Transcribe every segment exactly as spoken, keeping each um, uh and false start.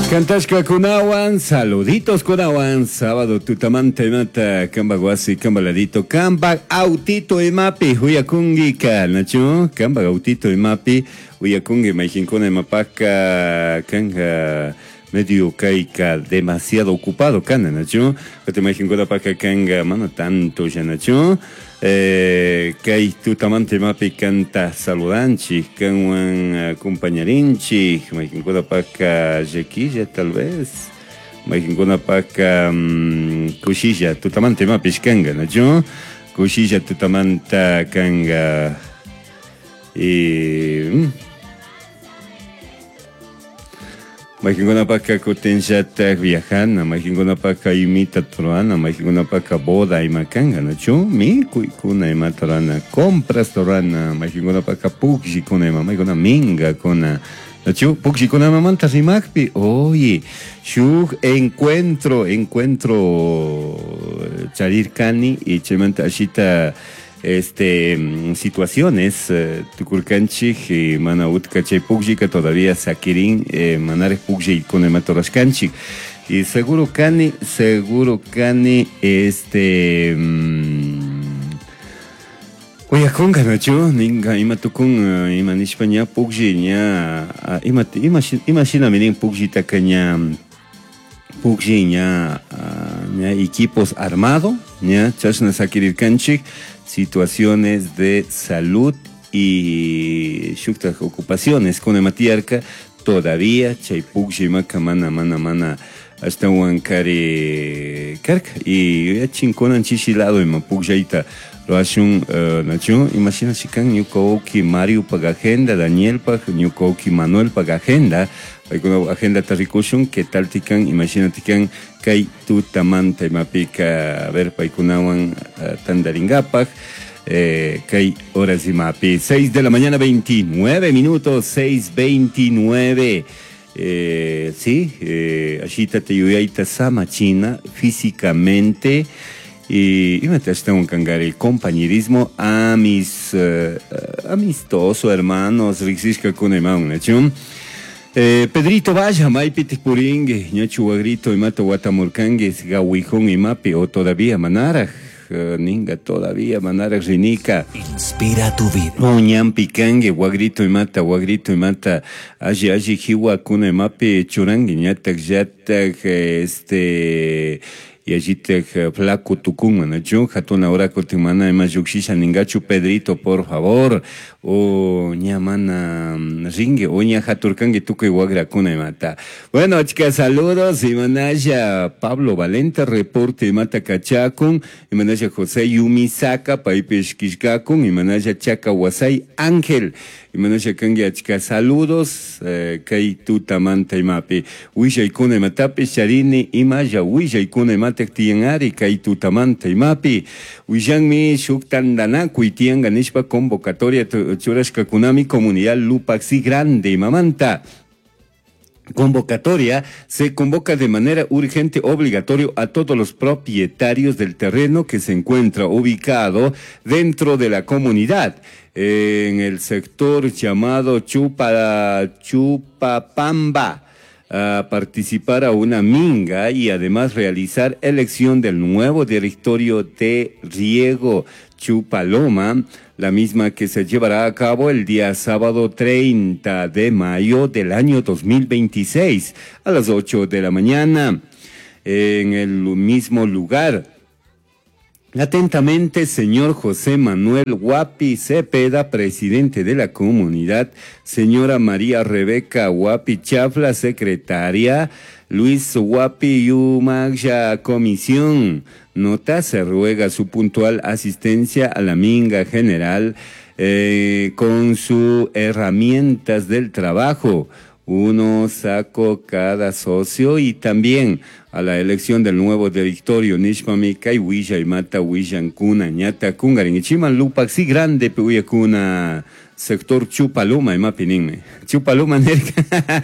Cantashka kunawan, saluditos kunawan, sábado tutamanta imata, kamba wasi, kamba ladito, kamba autito imapi, huyakungi ka, nachu, kamba autito imapi, huyakungi mayjinkuna imapaka, kanga medio kaika demasiado ocupado kana, nachu, kati mayjinkuna paka kanga, mana tanto ya, nachu, eh, kay tutamanta imapi kanta saludanchik, kanwan acompañarinchik, mayjinkuna paka llaquilla tal vez, mayjinkuna paka um, kushilla tutamanta imapish kanga, nachu, kushilla tutamanta kanga, y mm, mayjinkuna paka kutinllatak viajana, mayjinkuna paka imita rurana, mayjinkuna paka boda ima kanga, nachu, mikuykuna imata rurana, compras rurana, mayjinkuna paka pukllikuna ima, maykuna mingakuna, nachu, pukllikuna imamanta rimakpi, oye, shuk encuentro, encuentro charirkani y chaymanta ashita este, situaciones, eh, tukurkanchik, eh, mana utka chay pukllika todavía sakirin, eh, manarek pukllikuykuna imata rurashkanchik. Y seguro kani, seguro kani, este, mm, uyakunka, nachu, ninka ima tukun, eh, ima nishpa ña puklli, ña, ah, ima, ima, ima shinami nin pukllitaka ña, puklli ña, ah, ña equipos armado, ña, chashna sakirirkanchik, situaciones de salud y shuktak ocupaciones con ematiarca todavía chay puklli imaka mana mana mana ashtawan kari karka y yachinkunan chishi lado ima pukllayta rurashun, eh, nachu, imagina chikan ñuka wawki Mario pag agenda, Daniel pag, ñuka wawki Manuel pag agenda, paykuna agenda ta rikushun, que tal tikan, imagina tikan kay tutamanta imapika, a ver, paykunawan, eh, tandaringapak, eh, kay horas imapi, seis de la mañana, veintinueve minutos, seis veintinueve. Eh, sí, eh, ashita te yuyaita sama china físicamente y imate ashtawan kangari compañerismo amis, eh, amistoso, hermanos, riksishka kuna imaun, nachu. Eh, Pedrito vaya, maypi puringue, ñachu wagrito imata watamurkangue, gawijón imapi, o todavía manaraj, eh, ninga todavía manaraj rinica. Inspira tu vida. O ñampi kangue, wagrito imata, wagrito imata, alli, alli jiwa kuna imapi churangue, ñatak, yatak, este, y allí te flaco tucumán, nachu, jatuna hora cotimana, ima yuxisha ningachu, Pedrito, por favor, o ñamana ringue, o ña jaturcangue tuco y guagra cuna y mata. Bueno, chicas, saludos, y manaya Pablo Valente, reporte y mata cachacun, y manaya José Yumisaka, paipes quiscacun, y manaya Chaca Huasay Ángel, y manaya cangue, chicas, saludos, eh, kay tutamanta y mapi, huilla y cuna y matapi, charini, y maya, huilla y cuna y mata, tiangari, kay tutamanta y mapi, huillanmi, shuktandanakuy, tianga nishpa convocatoria, churashka kunami, comunidad Lupaxi Grande, mamanta. Convocatoria se convoca de manera urgente obligatorio a todos los propietarios del terreno que se encuentra ubicado dentro de la comunidad, en el sector llamado Chupa, Chupapamba, a participar a una minga y además realizar elección del nuevo directorio de riego Chupaloma, la misma que se llevará a cabo el día sábado treinta de mayo del año dos mil veintiséis a las ocho de la mañana en el mismo lugar. Atentamente, señor José Manuel Guapi Cepeda, presidente de la comunidad, señora María Rebeca Guapi Chafla, secretaria, Luis Guapi Yumagya, comisión. Nota, se ruega su puntual asistencia a la minga general, eh, con sus herramientas del trabajo. Uno saco cada socio y también a la elección del nuevo directorio Nishmami Kai Huilla y Mata Huillan Kuna Ñata Kungarin Ichiman Lupaxi Grande Puya Kuna sector Chupaluma y Mapininme Chupaluma Nerka.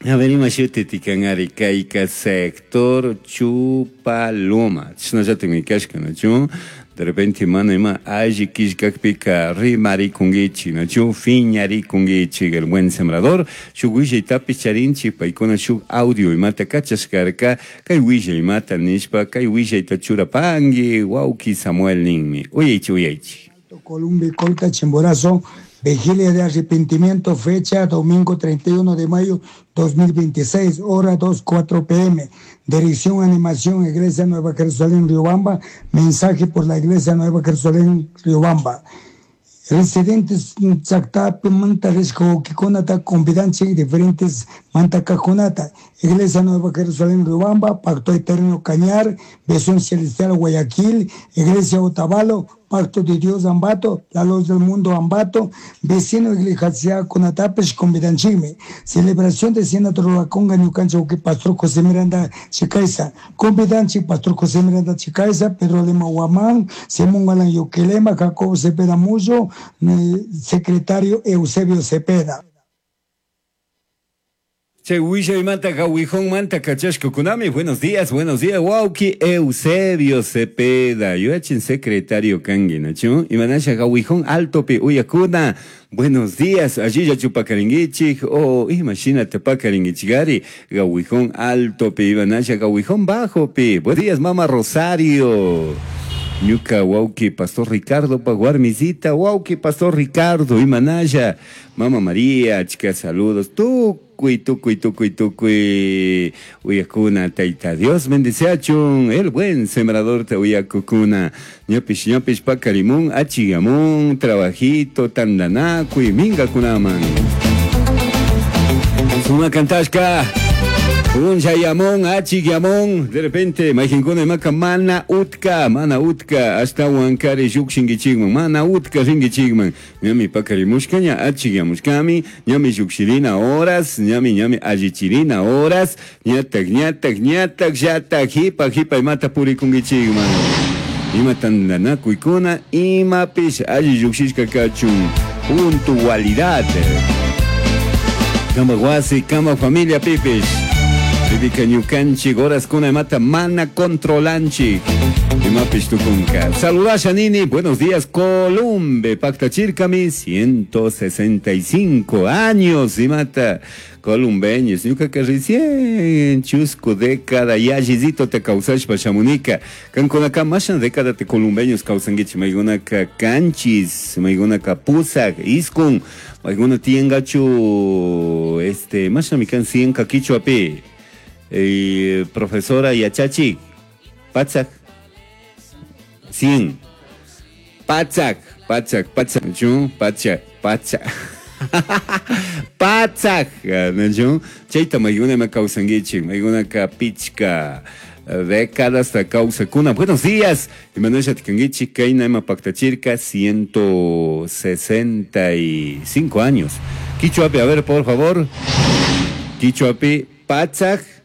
A ver, ima shuti kanari kayka sector Chupaloma. Chashnallatikmi kashka, nachu? De repente mana ima alli killkakpika rimarikunkichik, nachu? Fiñarikunkichik, el buen sembrador. Shuk willaytapish charinchik, paykuna shuk audio imata kachashkarka, kay willay imata nishpa, kay willayta churapanki, wawki Samuel ninmi. Uyaychik, uyaychik. Columbia, Colta, Chimborazo, vigilia de arrepentimiento, fecha domingo treinta y uno de mayo dos mil veintiséis, hora dos cuatro P M. Dirección, animación, Iglesia Nueva Jerusalén, Riobamba. Mensaje por la Iglesia Nueva Jerusalén, Riobamba. Residentes Zactapi, Manta, Risco, Kikonata, Convidancia y diferentes Mantacajunata. Iglesia Nueva Jerusalén, Riobamba, Pacto Eterno Cañar, Visión Celestial Guayaquil, Iglesia Otavalo, Pacto de Dios Ambato, La Luz del Mundo Ambato, Vecino Iglesia Conatapes, Convidanchime, Celebración de Cena Trolaconga, Ñucancha, Uque, Pastor José Miranda Chicaiza, Convidanchi, Pastor José Miranda Chicaiza, Pedro Lima Guamán, Simón Galán Yoquelema, Jacobo Cepeda Muyo, secretario Eusebio Cepeda. Che, huilla manta, gawijón manta, cachashko kunami. Buenos días, buenos días, wauki Eusebio Cepeda. Yo echen secretario kangi, nachu. Imanasha gawijón alto pi uyakuna. Buenos días, allí ya chupacaringuichik, oh, imagínate pacaringuichigari, gawijón alto pi, imanasha gawijón bajo pi. Buenos días, mamá Rosario. Ñuka wauki Pastor Ricardo paguarmisita, wauki Pastor Ricardo, imanaya, Mama María, chica, saludos, tucuy, tucuy, tucuy, tucuy, uyakuna, taita, Dios bendice achun, el buen sembrador te uyakukuna, ñopish, ñopish, pacarimun, achigamun, trabajito, tandanacuy, minga kunaman. Suma cantashka. Un yayamón, achigyamón, de repente, majinkuna imaka mana utka, mana utka, hasta huancari yukshingichigman, mana utka ringichigman, ñami pakarimushka, ña achigyamushkami, ñami yukshirina horas, ñami ñami allichirina horas, ñatak, ñatak, ñatak, yatak, jipa, jipa, imata purikungichigman. Ima tandanakuykuna, imapish alli yukshishka kachun, puntualidad. Kama wasi, kama familia pipish. Bibika ñukanchik, horas kuna imata mana controlanchik. Imapish tukunka. Saludasha nini, buenos días, Columbe, Pacta Chircami, ciento sesenta y cinco años, imata, columbeños, ñuka que recién chusco década, yallicito te causash pachamunica, kankunaka mashan década te columbeños causanguichi, maigunaka canchis, maigunaka pusak, iskun, maiguna tiengachu, este, mashan mikan cien kakichuapi. Eh, profesora Yachachi, Patsak, cien, Patsak, Patsak, Patsak, Patsak, Patsak, Patsak, Chaita maiguna me causanguichi, maiguna ka pichka, décadas ta causa kuna. Buenos días, Emanuel Chaticanguichi, Kaina Ema Pactachirca, ciento sesenta y cinco años. Quichuapi, a ver, por favor. Quichuapi, Patsak.